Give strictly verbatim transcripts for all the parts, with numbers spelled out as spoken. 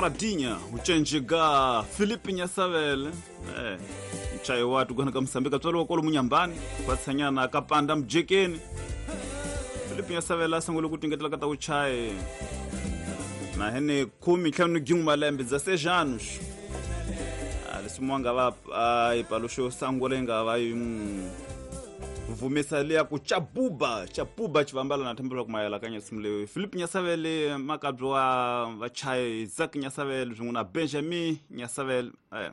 Radinha ucenjega Filipe Nyasavele eh mchayi watu gwana ka Msambika tswalo kwalo munyambani kwatsanyana kapanda mjekeni Filipe Nyasavele asangole kutingetela kata uchayi na hene kumi ntlhanu gin'we malembe dezesseis anos leswi mwanga va ipaluxo sangule nga va yi vumisa liya ku chabuba chabuba chivambala na thembela ku mayela ka nsimu leyi Filipe Nyasavele makabyi wa vachayi Isaac Nyasavele swin'we na Benjamin Nyasavele eh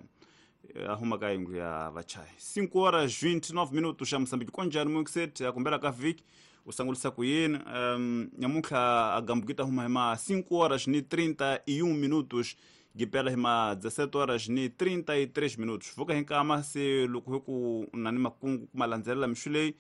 a huma ka yindlu ya vachayi cinco horas vinte e nove minutos xa Moçambique konjani muxet ya kumbela ka vhiki u sangulisa ku yini um nyamuntlha a gambukita huma hi ma cinco horas ni trinta e um minutos gipela hi ma dezessete horas ni trinta e três minutos vuka hi nkama se loko hi ku na ni makungu ku malandzelela mixu leyi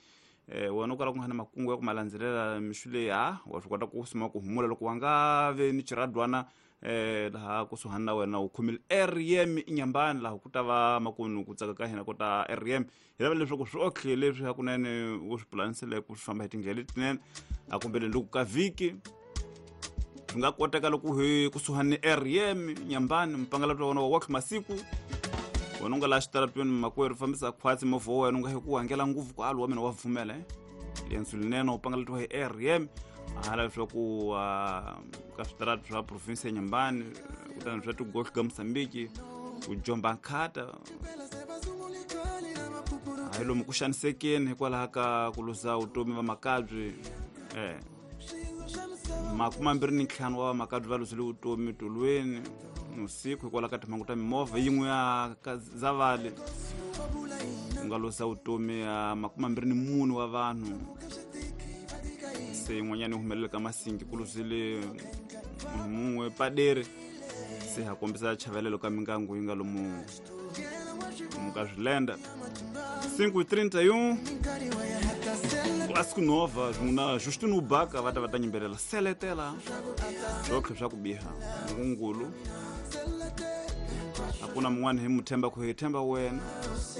eh wena u kala ku nga ni makungu ya ku malandzelela mixu leyi ha wa swi kota ku sima ku humula loko wa nga ve ni xiradwana eh laha kusuhani na wena u khomile R M Inyambani laha ku ta va makunu ku tsaka ka hina ku ta R M hi lava leswaku swi otlhe leswi hakunene u swi pulanisele ku swi famba hi tindlela letinene a kumbele loko ka vhiki swi nga koteka loko hi kusuhani ni R M Nyambani mpangalato wa wena wa watlhe masiku wena u nga laha xitaratweni makwerhu fambisa khwatsi movha wa wena u nga hi ku hangela ngopfu ku alu wa mina wa pfumela eh lensu linene u pangalatiwa hi R M hala leswaku ka switarati swa province ya Nyambani kutani swa tigohli ka Mosambiki ku jomba nkhata hayi lomu ku xanisekeni hikwalaho ka ku luza vutomi va makabyi eh makumi mambirhi ni ntlhanu wa vamakabyi va luzile vutomi tolweni usiku hikwalaho ka timhangu ta mimovha yin'we ya Zavale ku nga luza vutomi ya makumi mambirhi ni mune wa vanhu se yin'wanyana yi humelela ka Masingi ku luzile munhu mun'we paderi se ha kombisa chavelelo ka mingangu yi nga lomu lomu ka swilenda cinco e trinta e um Clássico Nova swin'we na Justino Ubaka va ta va ta nyimbelela seletela swotlhe swa ku biha ngungulu a ku na mun'wana hi mu themba ku hi themba wena.